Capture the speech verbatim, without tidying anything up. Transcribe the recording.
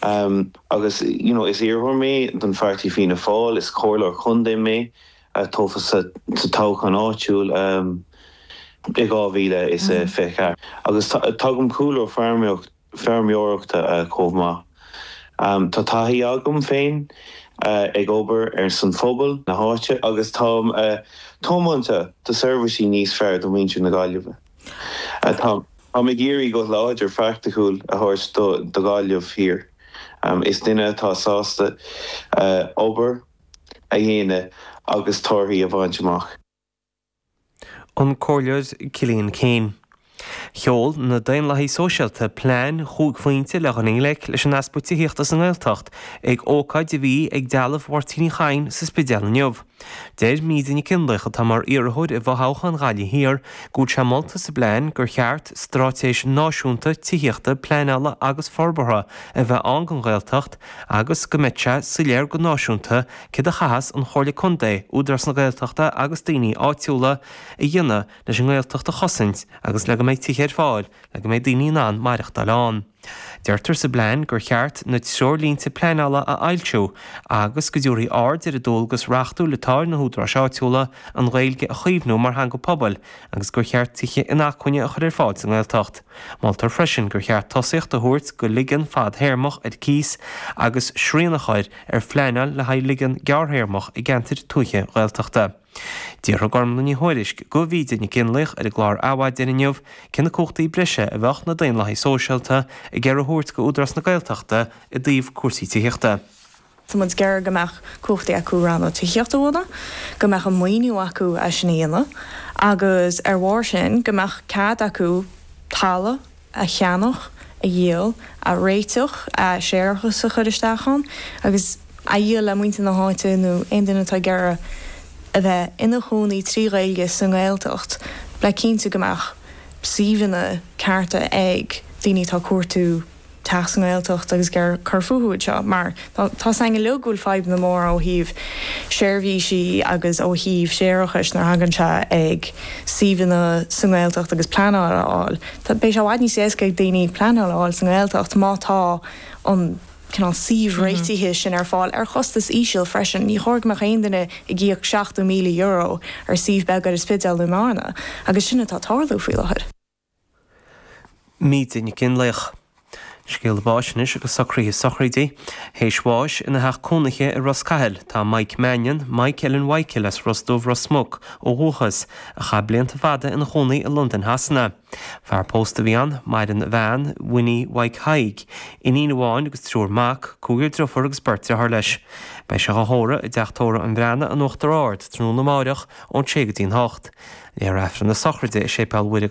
Um, agus you know, is iarrthóir mé don pháirtí Fianna Fáil is comhairleoir contae mé a tofa sa toghchán áitiúil um, i dhá mhíle is mm. fiche. Agus tagaim cúlra feirmeoireachta uh, chomh maith. Um, tá taithí agam féin uh, ag obair ar son phobal na háite agus táim uh, tiomanta do seirbhísí níos fearr do mhuintir na Gaillimhe. Uh, tá ag iarraidh go láidir praiticiúil a thabhairt do, do Ghaillimh Thiar. Um, is duine atá sásta uh, obair a dhéanamh agus torthaí a bhaint amach. An Comhairleoir Cillian Keane. Sheol na Daonlathaithe Sóisialta plean cúig phointe le dhul i ngleic leis an easpa tithíochta sa nGaeltacht ag ócáid a bhí ag Dealbh Mháirtín Uí Chadhain sa Spidéal inniu. Deir Míde Nic Fhionnlaoich atá mar iarrthóir i bhfothoghchán Ghaillimh Thiar go bhfuil sé molta sa bplean gur cheart straitéis náisiúnta tithíochta pleanála agus forbartha a bheith ann don Ghaeltacht agus go mbeadh sé soiléir go náisiúnta céard a chaithfeas an Chomhairle Contae, Údarás na Gaeltachta agus daoine áitiúla a dhéanamh leis an nGaeltacht a chosaint agus le go mbeidh tithe ar fáil le go mbeidh daoine in ann maireachtáil ann. Deirtear sa bplean gur cheart na treoirlínte pleanála a fhoilsiú agus go dtabharfaí aird ar an dualgas reachtúil atá ar na húdaráis áitiúla an Ghaeilge a chaomhnú mar theanga pobail agus gur cheart tithe inacmhainne a chur ar fáil sa nGaeltacht. Moltar freisin gur cheart tosaíocht a thabhairt go ligean fadthéarmach ar cíos agus srian a chur ar phleanáil le haghaidh ligean gearrthéarmach i gceantair tuaithe Ghaeltachta. D'fhiafraigh Gormlaith Ní Thuairisg de Mhíde Nic Fhionnlaoich ar an gclár Adhmhaidin inniu cé na cumhachtaí breise a bheadh na Daonlathaithe Sóisialta ag iarraidh a thabhairt go Údarás na Gaeltachta i dtaobh cúrsaí tithíochta. Tá muid ag iarraidh go mbeadh cumhachtaí acu rannóg tithíochta a bhunú, go mbeadh an maoiniú acu é sin a dhéanamh, agus ar bharr sin go mbeadh cead acu talamh a cheannach, a dhíol, a réiteach, a séarachas a chur isteach ann, agus a dhíol le muintir na háite nó aon duine atá ag iarraidh a bheith ina chónaí trí Ghaeilge sa nGaeltacht, le cinntiú go mbeadh suíomhanna cearta ag daoine atá ag cuartú teach sa nGaeltacht agus ag iarraidh cur fúthu anseo, mar tá a fhios againn uilig go bhfuil fadhbanna móra ó thaobh seirbhísí agus ó thaobh séarachais nuair a thagann sé ag suíomhanna sa nGaeltacht agus pleanáil a fháil. Beidh sé i bhfad níos éasca ag daoine pleanáil a fháil sa nGaeltacht má tá an cineál suíomh réitithe sin ar fáil ar chostas íseal freisin. Ní chóir go mbeadh aon duine ag íoc seachtó míle euro ar suíomh beag ar an Spidéal nó i mBearna, agus sin atá ag tarlú faoi láthair. Míde Nic Fhionnlaoich. Scéal báis anois agus socruithe sochraide, Théis bháis ina theach cónaithe i Ros Cathail tá Mike Mannion, Mike Ellen Mhichael as Ros Dubh Ros Muc ó dhúchas, a chaith blianta fada ina chónaí i Londain Shasana. Fear pósta a bhí ann, maireann a bhean, Winnie Mike Haig, iníon amháin agus triúr mac, cúigear deirfiúr agus beirt dearthár leis. Beidh sé á thórramh i dteach tórraimh an Bhreathnaigh in Uachtar Ard tráthnóna amárach ón sé go dtí an hocht. Léifear Aifreann na sochraide i Séipéal Mhuire